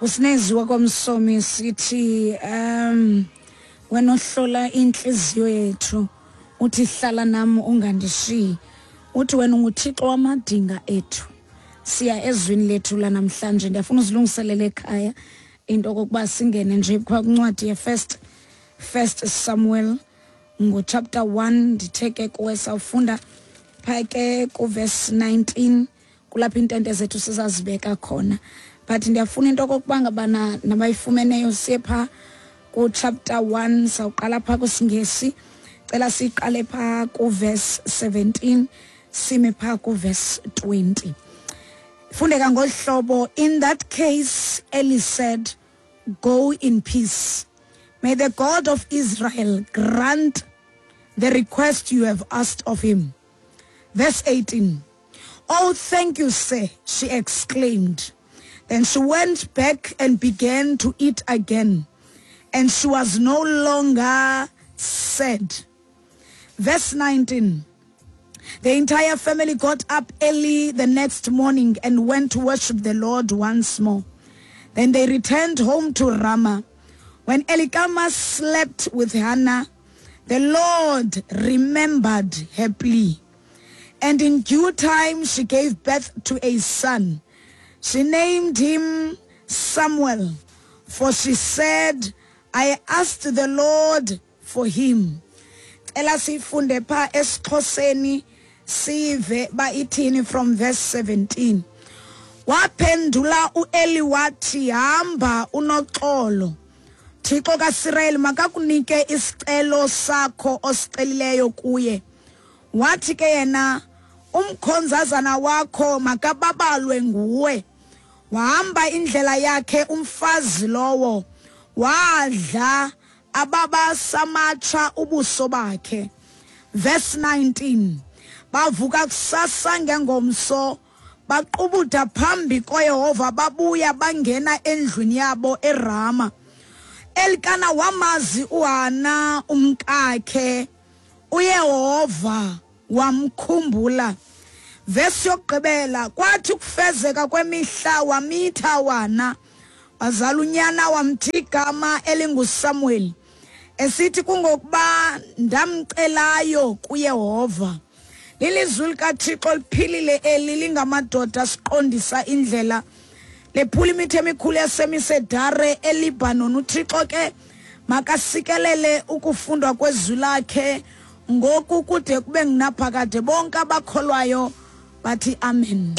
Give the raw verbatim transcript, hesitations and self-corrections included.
Usineziwa kwamsomi sithi um wena ohlola inhliziyo yethu, uthi hlala nami ungandishiyi, uthi wena unguThixo wamadinga ethu. Siya ezwini lethu lanamhlanje. Ndiyafuna uzilungiselele ekhaya into okokuba singene nje kwincwadi ye-first First Samuel ngo-chapter one. Ndithe ke kuwe sawufunda phaa ke ku-verse nineteen, kulapho iintente zethu sizazibeka khona. But ndiyafuna into okokuba ngabana nabayifumeneyo siye phaa ku-chapter one, sawuqala phaa kwisiNgesi. Cela siqale phaa ku-verse seventeen, sime phaa ku-verse twenty. Fundeka ngolu hlobo: In that case Eli said, "Go in peace. May the God of Israel grant the request you have asked of him." Verse eighteen. "Oh, thank you, sir," she exclaimed. Then she went back and began to eat again, and she was no longer sad. Verse nineteen. The entire family got up early the next morning and went to worship the Lord once more. Then they returned home to Ramah. When Elkanah slept with Hannah, the Lord remembered her plea. And in due time she gave birth to a son. She named him Samuel, for she said, "I asked the Lord for him." Ela sifunde pha esiXhoseni sive ba ithini from verse seventeen. Waphendula uEli wathi, hamba unoxolo. Thixo kaSirayeli makakunike isicelo sakho osicelileyo kuye. Wathi ke yena, umkhonzazana wakho makababalwe nguwe. Wahamba indlela yakhe umfazi lowo, wadla ababa samatsha ubuso bakhe. Verse nineteen. Bavuka kusasa ngengomso, baqubuda phambi koYehova, babuya bangena endlwini yabo eRama. Elkana wamazi uHana umkakhe, uYehova wamkhumbula. Verse yokugqibela, kwathi ukufezeka kwemihla wamitha wana, wazala unyana, wamthi igama elinguSamuel, esithi kungokuba ndamcelayo kuYehova. Lilizwi likaThixo liphilile eli, lingamadoda siqondisa indlela, lephula imithi emikhulu yasemisedare eLebanon. UThixo ke makasikelele ukufundwa kwezwi lakhe ngoku kude kube ngunaphakade. Bonke abakholwayo bathi amen.